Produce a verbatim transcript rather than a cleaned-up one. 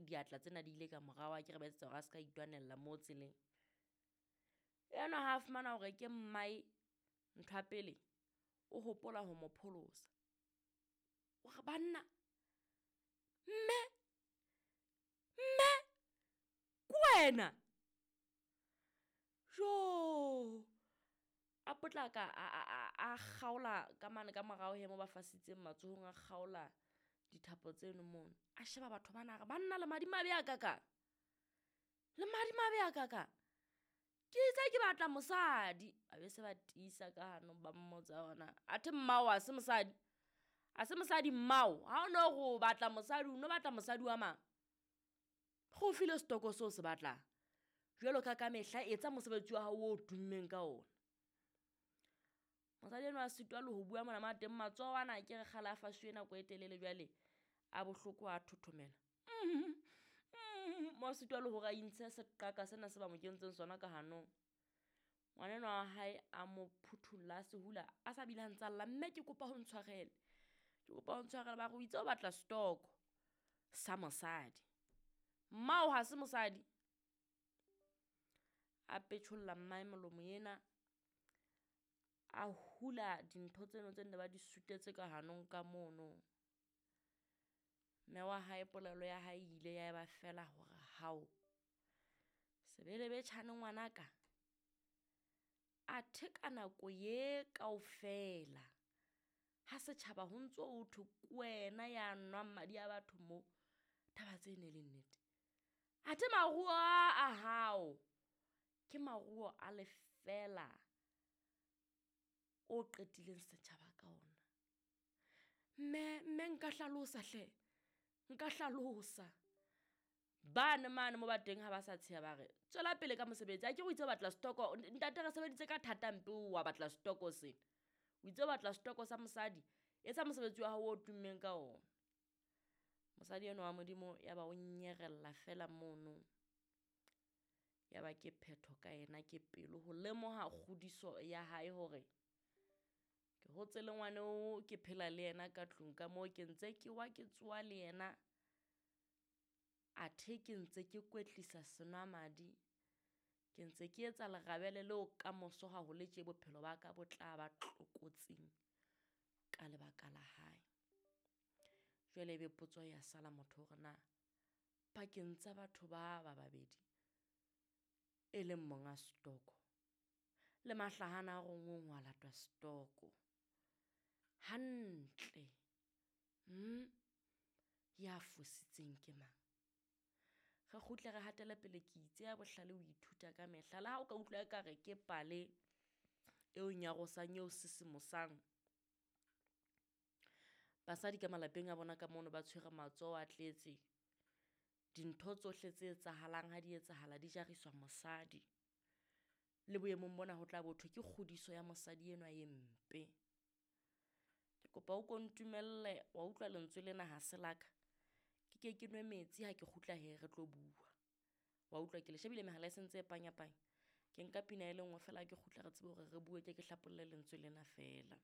diatla tsena di ile ka morao a ke re ba etsetsa hore a se ka itwanella mo tseleng. Enwa ha a fumana hore ke mmae, ntho ya pele o hopola ho mo pholosa. O re banna, mme, mme ke wena? Jo! A potlaka a a a a kgaola ka mane ka morao he mo ba fasitseng matsohong, a kgaola dithapo tseno mono. A sheba batho bana a re banna le madimabe a kakang, le madimabe a kakang. Ke itse ke batla mosadi, a be se ba tiisa ka hanong ba mmotsa hore na athe mmao ha se mosadi, ha se mosadi mmao. Ha o no re o batla mosadi, o no batla mosadi wa mang? Re o file setoko seo se batlang. Jwalo ka ka mehla etsa mosebetsi wa hao o tummeng ka ona. Mosadi enwa a sitwa le ho bua mona mo a teng matsoho ana ke re kgale a fasuwe nako e telele jwale a bohloko a thothomela. Mo a sitwa le hore a intshe seqaka sena se ba mo kentseng sona ka hanong. Ngwana enwa wa hae a mo phuthulla, a se hula, a sa bile a ntsa lla, mme ke kopa ho ntshwarele, ke kopa ho ntshwarele. Ba re o itse o batla setoko sa mosadi, mmao ha se mosadi. A petjholla mmae molomo ena, a hula dintho tseno tse nne ba di sutetse ka hanong ka mono. Mme wa hae polelo ya hae e ile ya eba feela hore hao, sebelebetjhane ngwanaka, athe ka nako ye kaofela ha setjhaba ho ntso ho thwe ke wena ya nwang madi a batho mo, taba tse ne le nnete. Athe maruo a a hao ke maruo a lefeela o qetileng setjhaba ka ona. Mme, mme nka hlalosa hle, nka hlalosa. Bane mane mo ba teng ha ba sa tsheha ba re tswela pele ka mosebetsi, akere o itse o batla setoko, ntate re sebeditse ka thata mpe wa batla setoko sena. O itse o batla setoko sa mosadi, etsa mosebetsi wa hao o tummeng ka ona. Mosadi enwa wa Modimo ya ba o nyerella feela mono. Ya ba ke phetho ka yena, ke pelo ho lemoha kgodiso ya hae hore ke hotse le ngwana oo, ke phela le yena ka tlung ka moo, ke ntse ke wa ke tsoha le yena. Athe ke ntse ke kwetlisa senwamadi, ke ntse ke etsa lerabele leo kamoso ha ho le tje bophelo ba ka bo tla ba tlokotsing ka lebaka la hae. Jwale ebe potso ya sala motho hore na pakeng tsa batho ba ba babedi e leng monga setoko le mahlahana a rongweng ho a latwa setoko hantle, hmm, ya fositseng ke mang? Re kgutle re hatele pele, ke itse ya bohlale o ithuta ka mehla. Le ha o ka utlwa ekare ke pale eo nyarosang, eo sisimosang. Basadi ka malapeng a bona ka mono ba tshwere matsoho a tletse. Dintho tsohle tse etsahalang ha di etsahala di jariswa mosadi. Le boemong bona ho tla bo thwe ke kgodiso ya mosadi enwa e mpe. Ke kopa o ko ntumelle, wa utlwa lentswe lena ha se la ka. Ke ke ke nwe metsi ha ke kgutla he re tlo bua. Wa utlwa ke le shebile mehala e sentse e panyapanya. Ke nka pina e le nngwe feela ha ke kgutla re tsebe hore re bue, ke ke hlapolle lentswe lena feela.